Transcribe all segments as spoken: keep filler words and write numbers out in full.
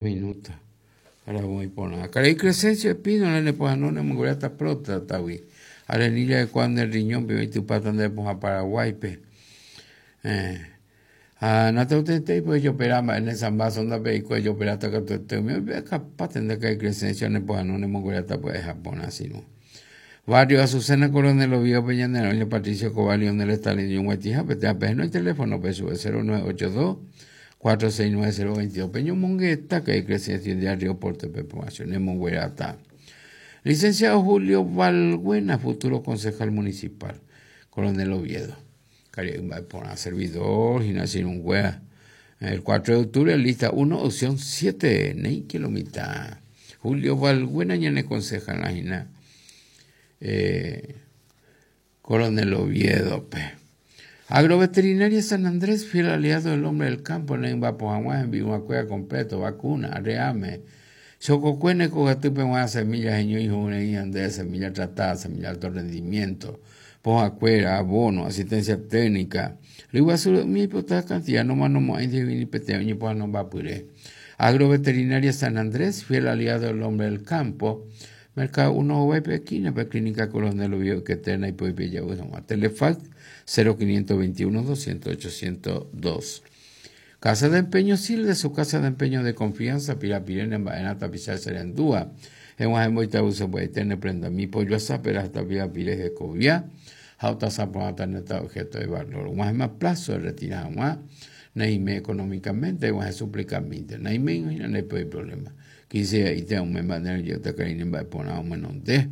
Minuto. Ahora voy por nada. Karai Crescencio Espínola ne pohano ne monguerata próstata-gui. Arenilla de Juan del riñón pe oitypáta nde pohã Paraguáipe. Eh. Ha nateotetei pe ojopera mba'e ne sambaso ndape eiko ejoperáta katuete umi oipe'akapáte nde Karai Crescencio ne pohano ne monguerata pya'eha porã sino. Barrio Azucena Coronel Oviedo pe ñane roña Patricio Escobar Lionel Stalin ñoguaitĩha peteĩ apehenói teléfono pe sube cero nueve ocho dos cuatro seis nueve cero veintidós pe ñomongeta Karai Crescencio de Río Porte pe povación ne monguerata. Licenciado Julio Valbuena, futuro concejal municipal, Coronel Oviedo. Karai mba'e servidor, Ginacinunguea. El cuatro de octubre, lista uno, opción siete, nei kilomita. Julio Valbuena, ñane concejal, Gina. Eh, Coronel Oviedo, pe. Agroveterinaria San Andrés, fiel aliado del hombre del campo, en Bapojaguá, en Vihuacuea completo, vacuna, arreame. Chococuene, Cogatupe, semillas, y andé, semilla tratada, semilla de alto rendimiento, pojacuera, abono, asistencia técnica. Riguazú, mi hipoteca cantidad, no más no más, ni no va puré. Agroveterinaria San Andrés, fiel aliado del hombre del campo. Mercado uno O P esquina, pe Clínica Coronel Oviedo, que terna y puede pillar, bueno, a Telefax cero quinientos veintiuno doscientos ochocientos dos. Casa de Empeño Silde, su casa de empeño de confianza, Pirapirene, en Baena, Tapizar, Serendúa. En Guajemboita, uso puede tener prenda mi pollo a zapera hasta Pirapires de Cobia. Jauta zapata neta objeto de valor. Guajema plazo de retirar, guaj, neime económicamente, guaje suplicamente. Neime, no hay problema. Quise y te un manera yo te caí en va un menos de.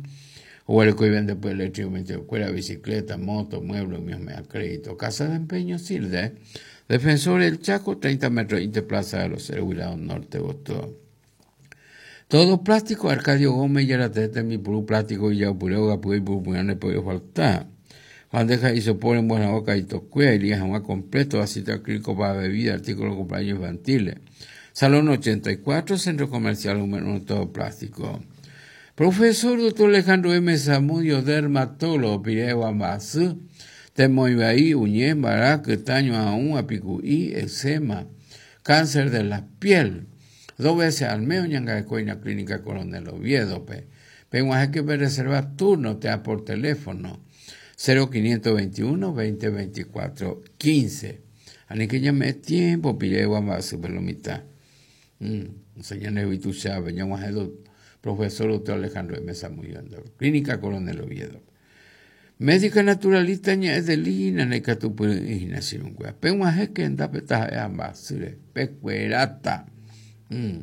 O el que vende pues eléctricamente, cuera, bicicleta, moto, mueble, mío me crédito. Casa de Empeño Silde. Defensor del Chaco, treinta metros, Interplaza de los Ceros, Norte, Boston. Todo plástico, Arcadio Gómez, y era tete, mi puro plástico, y ya pureo, gapuy, puro, no puede faltar. Bandeja y sopor en buena boca y tocuea, y lija más completo, aceite acrílico para bebida, artículos de cumpleaños infantiles. Salón ochenta y cuatro, Centro Comercial número uno, todo plástico. Profesor doctor Alejandro M. Zamudio, dermatólogo, Pireo Ambasú, Temoibaí, Uñé, Barac, Taño, Aún, Apicuí, eczema, cáncer de la piel. Dos veces al mes, Ñangarecoina, Clínica Coronel Oviedo, pe. Pero hay que reservar turno, te da por teléfono. cero quinientos veintiuno, veinte veinticuatro, quince. Ani que llame tiempo, Pireo Ambasú, pero mitad. Mm, señor Nevitu Chávez, llamo a profesor doctor Alejandro M. Zamudio, Clínica Coronel Oviedo. Médica naturalista ña Edelina Necatupurina Sirunguea. Peguaje que enda petaja ambasure, pecuerata. Mm.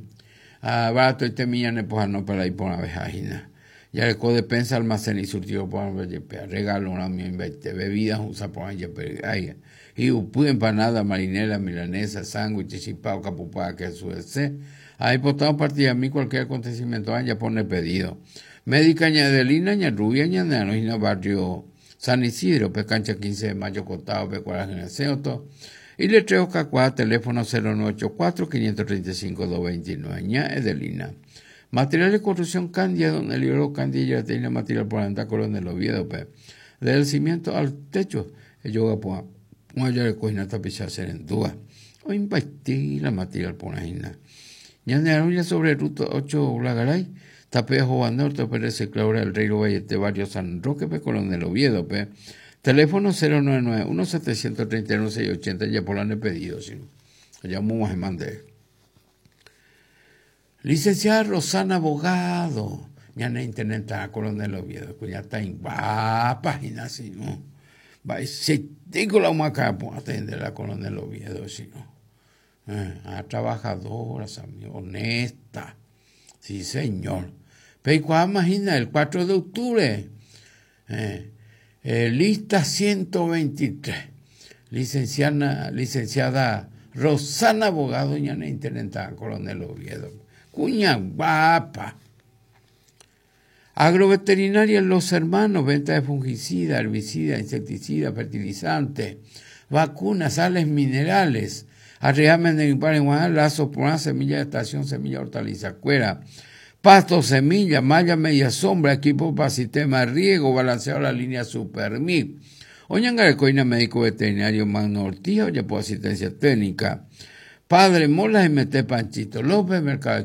Ah, barato y temilla ne poja no para ir por una vejajina. Ya le codepensa almacén y surtido por una vejepea. Regalo una mi invente, bebidas usa por una ay. Y upu empanada, marinera, milanesa, sándwich, chipao, capupá, queso, ese. Ahí postado partida a mí cualquier acontecimiento, ah, ya pone pedido. Médica ña Edelina, ña Rubia, ña Neanoina, barrio San Isidro, pe cancha quince de mayo, costado, pe cuarenta y Y letreo Cacuá, teléfono cero nueve ocho cuatro, quinientos treinta y cinco, doscientos veintinueve, ña Edelina. Material de construcción Candia, donde el libro Candia ya tiene material por andar Coronel Oviedo, pe. Desde el cimiento al techo, el yoga por una de cocina tapizar serendúa. O impartir la material por ahí. Ña Neanoina sobre ruta ocho Blagaray. Tapejo Norte, Pérez Claura, el Rey Valle, Barrio San Roque, pe, Coronel Oviedo, pe. Teléfono cero nueve nueve uno setecientos treinta y uno seis ochenta, ya por la han pedido, si no. Llamo a mandé. Licenciada Rosana Abogado, ya no internet a Coronel Oviedo, que ya está en página, si no. Va, si tengo la humaca, pues atender a Coronel Oviedo, si no. Eh, a trabajadora, honesta. Sí, señor. Pero imagina, el cuatro de octubre, eh, eh, lista ciento veintitrés, licenciada, licenciada Rosana Abogado, doña Intendente Coronel Oviedo. Cuña guapa. Agroveterinaria Los Hermanos, venta de fungicida, herbicida, insecticida, fertilizante, vacunas, sales minerales. Arreamen de impar en Guadalajara, lazo por una semilla de estación, semilla hortaliza, cuera, pasto, semilla, malla, media sombra, equipo para sistema de riego, balanceado la línea Supermip. Oñangarecoina, médico veterinario Magno Ortiz, oye, por asistencia técnica. Padre Mola y mete Panchito López, Mercado.